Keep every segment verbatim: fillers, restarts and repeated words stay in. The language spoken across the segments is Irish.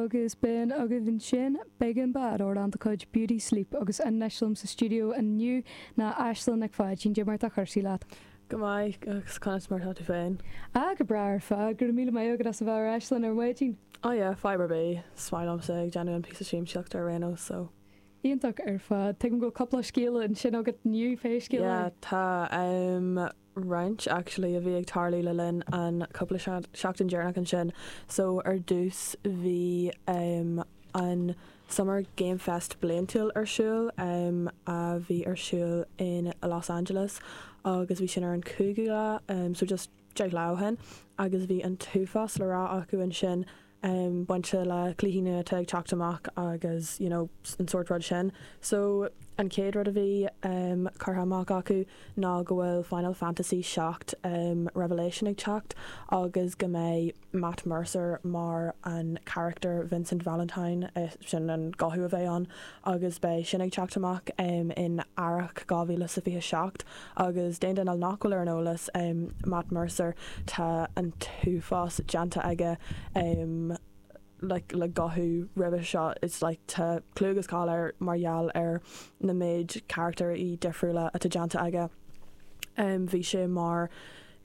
Agus b'in agaibh ansin Big Bad amhrán de chuid Beauty Sleep agus anois liom sa stiúideo inniu ná Aislinn Nic Pháidín Cad é mar atá cúrsaí leat. Go maith agus conas mar atá tú féin. Ah go breá ar fad go míle maith agat as a bheith ar ais linn ar maidin. Oh yeah, fadhb ar bith is maith liomsa ag déanamh an píosa siamsaíochta ar aon nós so. Iontach ar fad Tuigim go cúpla scéal ansin agat inniu pé scéal Yeah, tá um, roinnt actually a bhí ag tarlú le linn an cúpla seachtain deireanach ansin. So ar dtús bhí um, an Summer Game Fest bliantúil ar siúl um, a bhí ar siúl in Los Angeles agus bhí sin ar an cúigiú lá um, so just deich lá ó shin agus bhí an t-uafás le rá acu ansin um, bainte le cluichí nua atá ag teacht amach agus you know, an sórt rud sin. So an chéad rud a bhí um, curtha amach acu ná go bhfuil Final Fantasy seacht um, Revelation ag teacht agus go mbeidh Matt Mercer mar an character Vincent Valentine eh, sin an guth a bheidh ann agus beidh sin ag teacht amach um, in earrach dhá mhíle sa fiche seacht agus d'aon duine nach bhfuil ar an eolas um, Matt Mercer tá an t-uafás déanta aige um, like, le guthú roimhe seo it's like tá clú agus cáil air mar gheall ar na méid character difriúla atá déanta aige. Um, bhí sé mar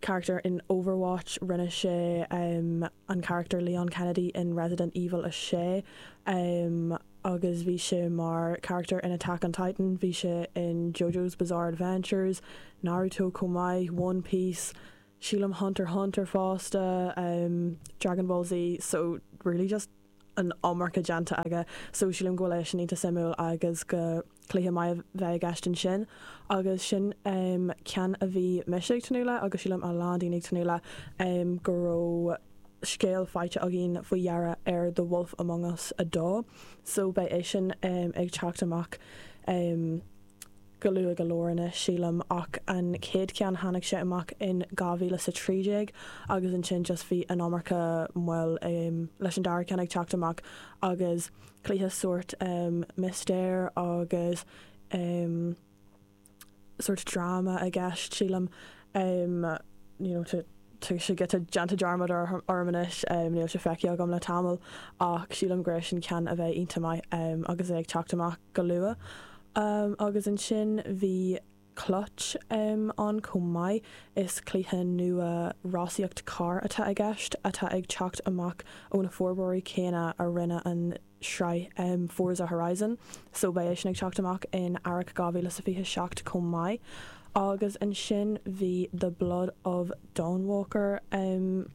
character in Overwatch rinne sé um, an character Leon Kennedy in Resident Evil a sé um, agus bhí sé mar character in Attack on Titan, bhí sé in JoJo's Bizarre Adventures, Naruto chomh maith, One Piece, sílim Hunter Hunter fosta, um, Dragon Ball Z, so really just an iomarca déanta aige so sílim go bhfuil sin iontach suimiúil agus go cluiche maith bheith i gceist ansin agus sin um, ceann a bhí mise ag tnúth le agus sílim a lán daoine ag tnúth le um, go raibh scéal faighte againn faoi dheireadh ar The Wolf Among Us a dó so beidh é sin um, ag teacht amach um, go luath go leor anois sílim ach an chéad cheann tháinig sé amach in dhá mhíle sa trí déag agus ansin just bhí an iomarca moill um, leis an dara ceann ag teacht amach agus cluiche sórt um, mistéir agus um, sórt dráma i gceist sílim um, you know, to tá sé giota déanta dearmad orm anois um, níl sé feicthe agam le tamall ach sílim gur sin ceann a bheidh iontach maith um, agus é ag teacht amach go luath. Um, agus ansin bhí Clutch um, an chomh maith is cluiche nua rásaíocht carr atá i gceist atá ag teacht amach ó na forbróirí céanna a rinne an sraith um, Forza Horizon, so beidh sin ag teacht amach in earrach dhá mhíle sa fiche seacht chomh maith. Agus ansin bhí The Blood of Dawnwalker um,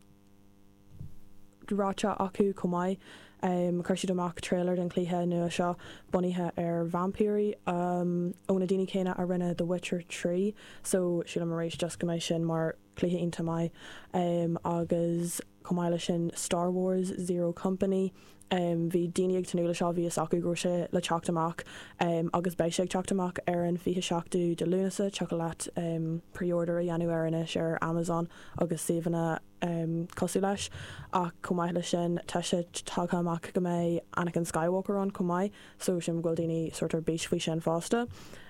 ráite acu chomh maith. Um, chuir siad amach trailer den chluiche nua seo bunaithe ar vaimpírí um, ó na daoine céanna a rinne The Witcher trí, so sílim arís just go mbeidh sin mar cluiche iontach maith um, agus chomh maith leis sin Star Wars Zero Company. Um, bhí daoine ag tnúth leis seo bhí a fhios acu go raibh sé le teacht amach um, agus beidh sé ag teacht amach ar an fiche seachtú de Lúnasa thiocfadh leat um, pre-order a dhéanamh air anois ar Amazon agus suíomhanna um, cosúil leis ach chomh maith leis sin tá sé tagtha amach go mbeidh Anakin Skywalker ann chomh maith so sin go bhfuil daoine sort ar bís faoi sin fosta.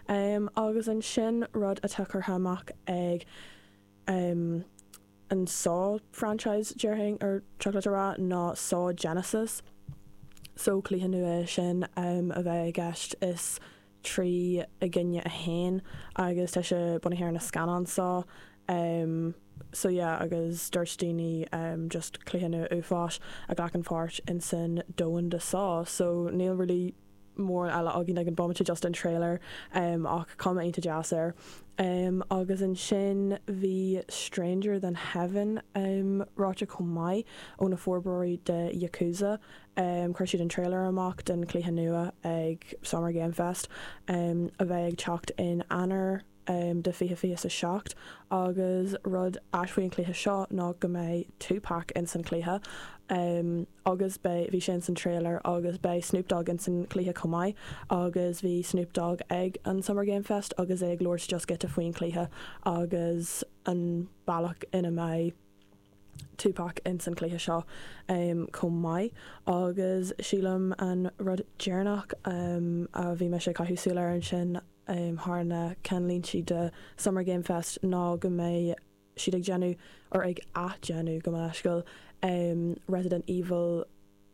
Um, agus ansin rud atá curtha amach ag um, an Saw franchise déarfainn ar chocolate rá ná Saw Genesis. So cluiche nua sin um, a bheidh i gceist is trí i gcoinne a haon agus tá sé bunaithe ar na scannáin Saw. Um, so yeah, agus dúirt daoine um, just cluiche nua uafáis a ghlacann páirt in san domhan de Saw, so níl really mór eile againn ag an bomaite just an trailer um, ach cuma iontach deas air. Um, agus ansin bhí Stranger Than Heaven um, ráite chomh maith ó na forbróirí de Yakuza. Um, chuir siad an trailer amach den chluiche nua ag Summer Game Fest um, a bheidh ag teacht in Eanáir um, de fiche fiche sa seacht agus rud ait faoin chluiche seo ná go mbeidh Tupac in san chluiche um, agus beidh bhí sin san trailer agus beidh Snoop Dogg in san chluiche chomh maith agus bhí Snoop Dogg ag an Summer Game Fest agus é ag labhairt just giota faoin chluiche agus an bealach ina mbeidh Tupac in san chluiche seo um, chomh maith agus sílim an rud deireanach um, a bhí mé ag caitheamh súil air ansin um, thar na ceannlínte de Summer Game Fest ná go mbeidh siad ag déanamh or ag athdhéanamh go leisciúil um, Resident Evil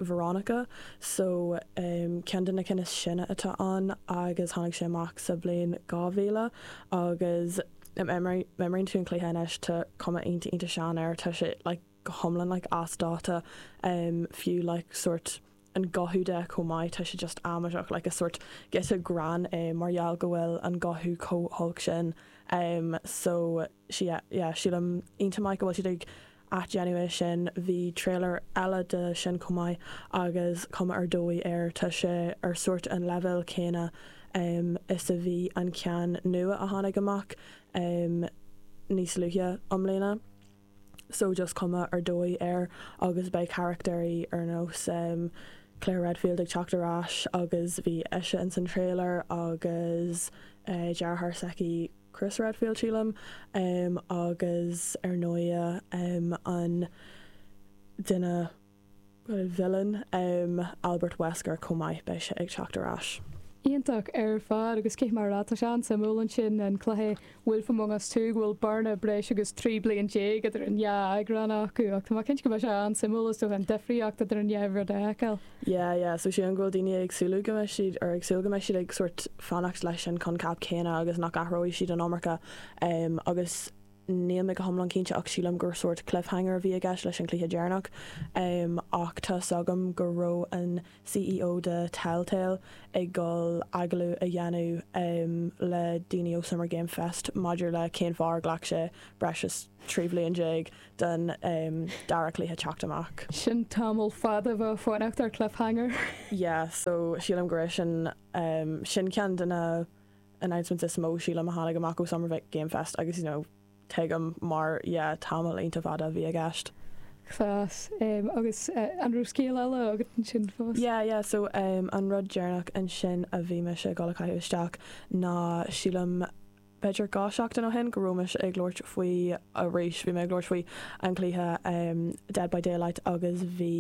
Veronica so um, ceann de na cinn is sine atá ann agus tháinig sé amach sa bhliain dhá mhíle agus memory tú an cluiche anois tá cuma iontach iontach sean air tá sé like, go hiomlán like, as dáta um, fiú like, sort an guth de chomh maith tá sé just amaideach like, a sort giota greann é mar gheall go bhfuil an guth chomh holc sin um, so sí yeah, sílim iontach maith go bhfuil siad ag athdhéanamh é sin bhí trailer eile de sin chomh maith agus cuma ar dóigh air tá sé ar sort an leibhéal céanna um, is a bhí an ceann nua a tháinig amach um, níos luaithe i mbliana. So just cuma ar dóigh air agus beidh carachtair ar nós um, Claire Redfield ag teacht ar ais agus bhí ise in san trailer agus uh, deartháir s'aici Chris Redfield sílim um, agus ar ndóigh um, an duine villain um, Albert Wesker chomh maith beidh sé ag teacht ar ais. Iontach ar fad agus cé mar atá sé an-suimiúil ansin an cluiche Wolf Among Us Two go bhfuil bearna breis agus trí bliana déag idir an dhá eagrán acu ach tá cinnte go mbeidh sé an-suimiúil is dócha an difríocht idir an dhá rud a fheiceáil. Yeah, yeah, so sé an bhfuil daoine ag súil go mbeidh siad ar ag súil go mbeidh siad ag sort fanacht leis an concept céanna agus nach athróidh siad an iomarca um, agus níl mé go hiomlán cinnte ach sílim gur sort cliffhanger a bhí i gceist leis an cluiche deireanach um, ach tá agam go raibh an CEO de Telltale ag dul agallamh a dhéanamh um, le daoine ó Summer Game Fest maidir le cén fáth ar ghlac sé breis is trí bliana déag den um, dara cluiche teacht amach. Sin tamall fada bheith fanacht ar cliffhanger. Yeah, so sílim go raibh sin um, sin ceann de na announcements is mó sílim a tháinig amach ó Summer Game Fest agus you know, tuigim mar yeah, tamall iontach fada a bhí i gceist. Class um, agus uh, an raibh scéal eile agat ansin fós. Yeah, yeah, so um, an rud deireanach ansin a bhí mise ag dul a chaitheamh isteach ná sílim b'fhéidir dhá seachtain ó shin go raibh mise ag labhairt faoi arís bhí mé ag labhairt faoi an cluiche um, Dead by Daylight agus bhí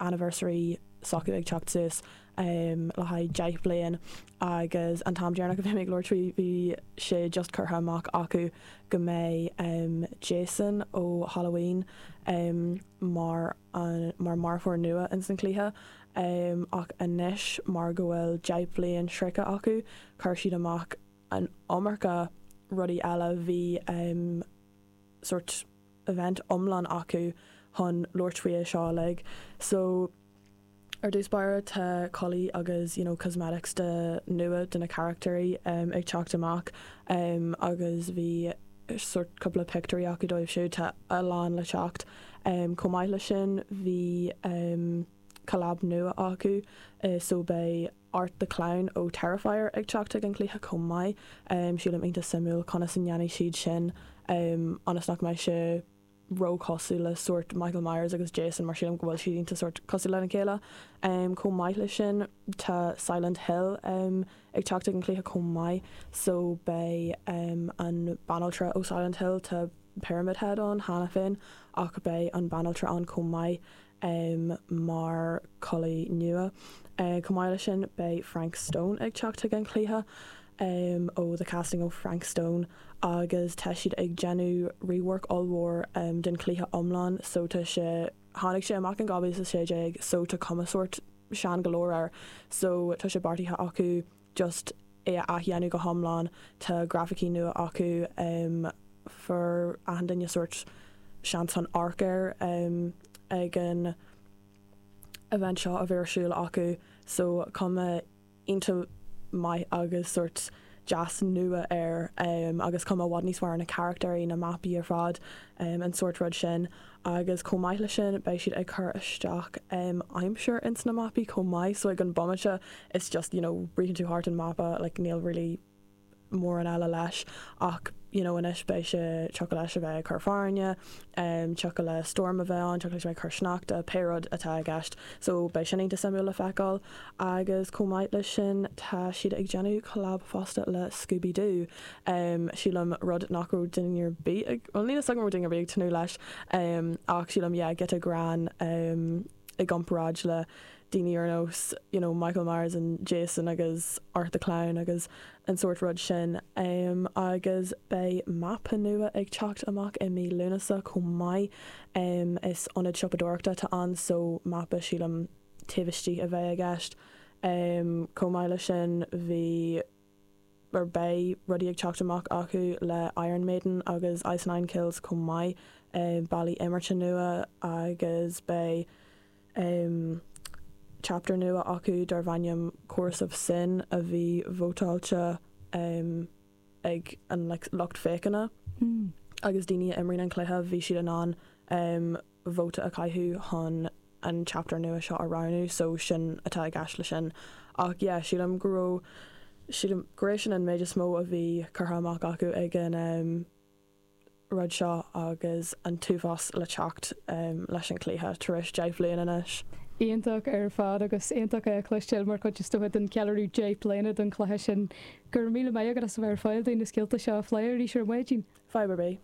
anniversary s'acu ag teacht suas um, le haghaidh deich bliain agus an t-am deireanach a bhí mé ag labhairt faoi bhí sé just curtha amach acu go mbeidh um, Jason ó Halloween um, mar an, mar marfóir nua in san cluiche. Um, ach anois mar go bhfuil deich bliain sroichte acu chuir siad amach an iomarca rudaí eile bhí um, sort event iomlán acu chun labhairt faoi seo like. So ar dtús báire tá culaith agus you know, cosmetics de nua de na carachtair um, ag teacht amach um, agus bhí sort cúpla pictiúirí acu dóibh siúd tá a lán le teacht. Um, chomh maith leis sin bhí um, collab nua acu uh, so beidh Art the Clown ó Terrifier ag teacht ag an cluiche chomh maith um, sílim iontach suimiúil conas a ndéanfaidh siad sin um, ionas nach mbeidh sé róchosúil le sort Michael Myers agus Jason mar sílim go bhfuil siad iontach sort cosúil lena chéile. Um, chomh maith leis sin tá Silent Hill um, ag teacht ag an cluiche chomh maith so beidh um, an banaltra ó Silent Hill tá Pyramid Head ann cheana féin ach beidh an banaltra ann chomh maith um, mar culaith nua. Uh, chomh maith leis sin beidh Frank Stone ag teacht ag an cluiche um, ó The Casting ó Frank Stone agus tá siad ag déanamh rework ollmhór um, den cluiche iomlán so tá sé tháinig sé amach in dhá mhíle sé déag so tá cuma sort sean go leor air so tá sé beartaithe acu just é a athdhéanamh go hiomlán tá grafaicí nua acu um, fuair achan duine sort seans an amharc air um, ag an event seo a bhí ar siúl acu so cuma iontach maith agus sort deas nua air um, agus cuma i bhfad níos fearr na carachtair na mapaí ar fad um, an sort rud sin agus chomh maith leis sin beidh siad ag cur isteach um, aimsir ins na mapaí chomh maith so ag an bomaite it's just you know ritheann tú thart an mapa like níl really mórán eile leis ach you know anois beidh sé tiocfaidh leis a bheith ag cur fearthainne um, tiocfaidh le storm a bheith ann tiocfaidh leis a bheith ag cur sneachta pé rud atá i gceist so beidh sin iontach suimiúil le feiceáil agus chomh maith leis sin tá siad ag déanamh collab fosta le Scooby-Doo um, sílim rud nach raibh duine ar bith ag well níl a fhios agam raibh duine ar bith ag tnúth leis um, ach sílim yeah, giota greann um, i gcomparáid le daoine ar nós you know, Michael Myers and Jason agus Art the Clown agus an sort rud sin um, agus beidh mapa nua ag teacht amach i mí Lúnasa chomh maith um, is ionad siopadóireachta atá ann so mapa sílim taobh istigh a bheidh i gceist. Um, chomh maith leis sin bhí ar beidh rudaí ag teacht amach acu le Iron Maiden agus Ice Nine Kills chomh maith um, bealaí imeartha nua agus beidh um, chapter nua acu darb ainm Chorus of Sin a bhí vótáilte um, ag an like, lucht féachana Mm. agus daoine a imríonn an cluiche bhí siad in ann um, vóta a chaitheamh chun an chapter nua seo a roghnú so sin atá i gceist le sin ach yeah, sílim go raibh sílim go raibh sin an méid is mó a bhí curtha amach acu ag an um, rud seo agus an t-uafás le teacht um, leis an cluiche tar éis deich bliana anois. Iontach ar fad agus iontach é cloisteáil mar chuid is dócha den cheiliúradh deich bliana don chluiche sin go raibh míle maith agat as a bheith ar fáil dúinn na scéalta seo a phlé arís ar maidin. Fadhb ar bith.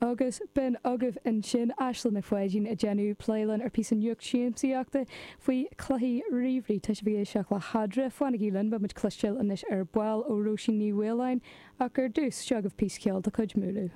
Agus b'in agaibh ansin Aisling Nic Pháidín ag déanamh plé linn ar phíosa nuacht siamsaíochta faoi chluichí ríomhairí tá sibh ag éisteacht le hEadra fanaigí linn beimid ag cloisteáil anois ar ball ó Róisín Ní Mhaoláin ach ar dtús seo agaibh píosa ceoil de chuid Múlú.